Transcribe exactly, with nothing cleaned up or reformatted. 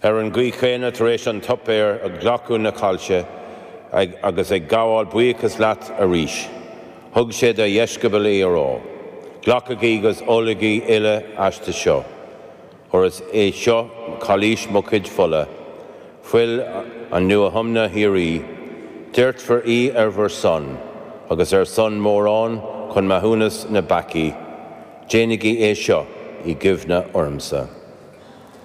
Ar an gcaoi chéanna tar éis an tsuipéir ag glacadh na cailce agus ag gabháil buíochas leat arís, thug sé dá dheisceabail í á rá, Glacaigí agus ólaigí uile aisti seo, óir is é seo cailís mo chuid fola, fuil an nuathiomna shíoraí, doirtfear í ar bhur son agus ar son mórán chun maithiúnas na bpeacaí. Déanaigí é seo i gcuimhne ormsa.